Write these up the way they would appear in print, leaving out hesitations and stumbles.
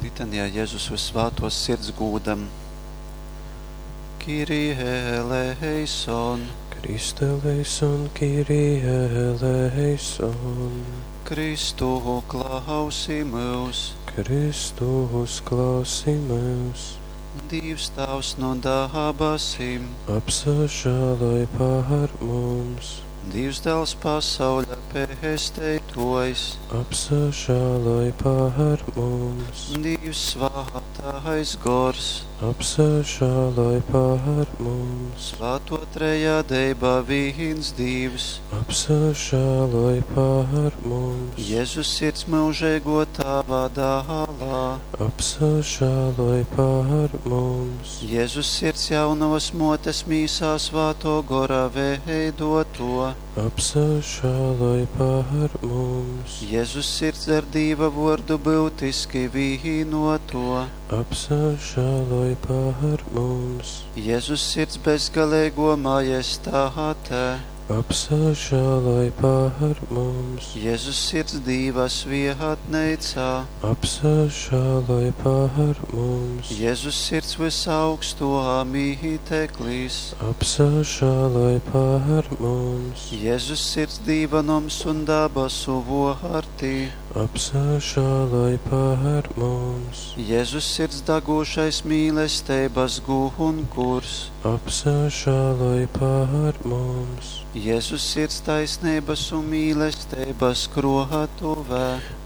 Litanijā Jezus Vyssvātōs Sirds gūdam. Kyrie eleison. Christe eleison, Kyrie eleison. Kristu, klausi myus. Kristu, uzklausi myus. Dīvs Tāvs nu dabasim. Apsažāloj par mums. Dīvs Dāls pasauļa pesteitōjs. Apsažāloj par mums. Dīvs Svātais Gors. Apsažāloj par mums. Svāto trejadeiba vīns Dīvs. Apsažāloj par mums. Jezus sirds myužeigō Tāva dālā. Apsažāloj par mums. Jezus sirds jaunovas mōtes mīsā svātō gora veidoto. Apsažāloj par mums. Jezus sirds ar Dīva vōrdu byutiski vīnoto. Apsažāloj par mums. Jezus sirds bezgaleigō majestāte. Apsažāloj par mums. Jezus sirds Dīva svietneicā. Apsažāloj par mums. Jezus sirds vysaugstō mīteklis. Apsažāloj par mums. Jezus sirds Dīva noms un dabasu vōrti. Apsažāloj par mums. Jezus sirds dagūšais mīlesteibas gunkurs. Apsažāloj par mums. Jezus sirds taisneibas un mīlesteibas krōtuvē.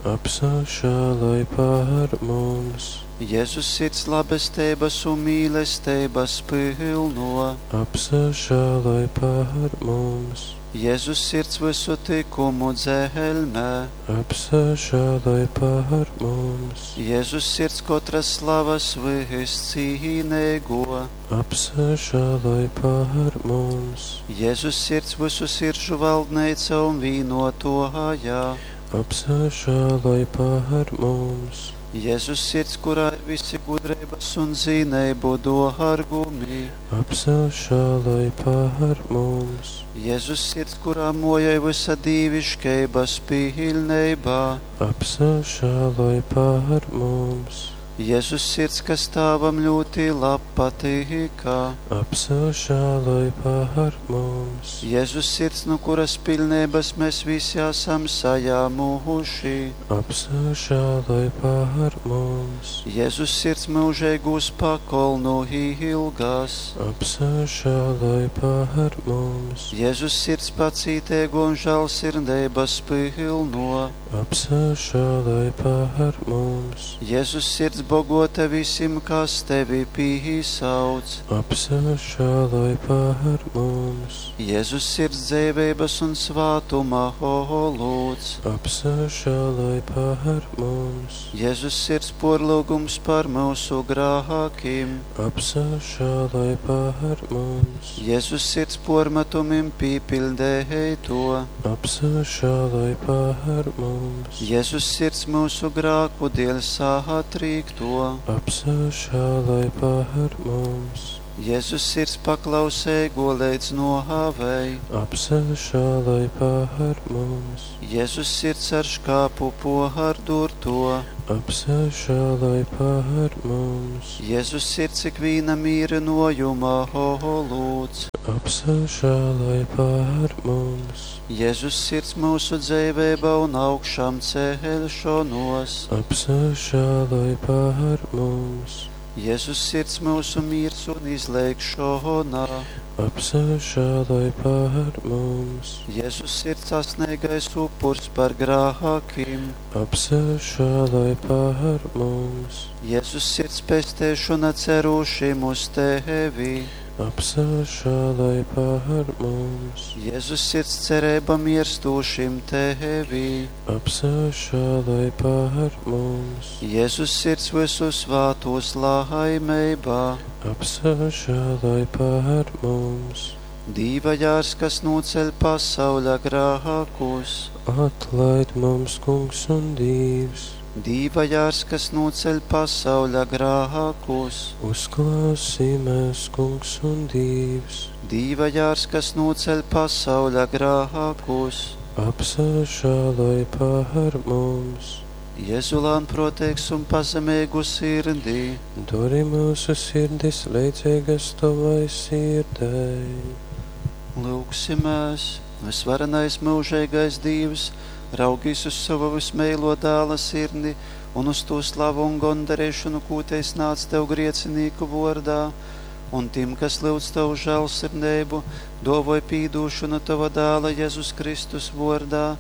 Apsažāloj par mums. Jezus sirds labesteibas un mīlesteibas pylno. Apsažāloj par mums. Jezus sirds visu tikumu dzelmē. Apsažāloj par mums. Jezus sirds kotras slavas vyscīneigo. Apsažāloj par mums. Jezus sirds visu sirdžu valdneica un vīnotōjā. Apsažāloj par mums. Jezus sirds, kurā ir visi gudreibas un zineibu dōrgumi. Apsažāloj par mums. Jezus sirds, kurā mojoj visa dīviškeibas piļneibā. Apsažāloj par mums. Jezus sirds, kas Tāvam ļoti lab patīkā. Apsažāloj par mums. Jezus sirds, nu kuras piļneibas mēs visi esam sajāmuši. Apsažāloj par mums. Jezus sirds mūžīgūs pakolnu ilgas. Apsažāloj par mums. Jezus sirds pacītēgo un žēlsirdības pilno. Apsažāloj par mums. Jezus sirds bogota visim, kas tevi pīsauc. Apsažāloj par mums. Jezus sirds dzēveibas un svātuma olūts. Apsažāloj par mums. Jezus sirds porlūgums par mūsu grākiem. Apsažāloj par mums. Jezus sirds pormetumim pīpildēj to. Apsažāloj par mums. Jezus sirds mūsu grāku dēļ sātrīkto. Apsažāloj par mums. Jezus sirds paklausēgo līdz nohāvei. Apsažāloj par mums. Jezus sirds ar škāpu pohardurto. Apsažāloj par mums. Jezus sirds ikvīna mīrinojuma olūts. Apsažāloj par mums. Jezus sirds mūsu dzēvēba un augšām ceļšanos. Apsažāloj par mums. Jezus sirds mūsu miers un izlēkšana. Apsažāloj par mums. Jezus sirds asnīgais upurs par grākiem. Apsažāloj par mums. Jezus sirds pestēšana cerūšiem uz tevi. Apsažāloj par mums. Jezus sirds cerība mirstūšim tevi. Apsažāloj par mums. Jezus sirds visu svātos laimeibā. Apsažāloj par mums. Dīva jārs, kas noceļ pasauļa grākus. Atlaid mums, kungs un Dīvs. Dīva jārs, kas noceļ pasauļa grākus. Uzklausī mēs, kungs un Dīvs. Dīva jārs, kas noceļ pasauļa grākus. Apsažāloj par mums. Jezu lānprōteigs un pazemeigu sirdi. Dori myusu sirdis leidzeigas Tovai sirdei. Lyugsimēs, vysvarenais myužeigais Dīvs, raugīs uz sova vysmeilō dāla sirdi un uz tū slavu un gondareišonu, kū tei snādz Tev griecinīku vōrdā, un tim, kas lyudz Tavu žēlsirdeibu, dōvoj pīdūšonu Tova dāla Jezus Kristus vōrdā,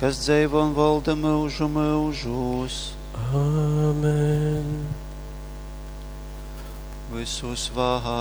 kas dzeivo un volda myužu myužūs. Āmen. Vysusvātākais.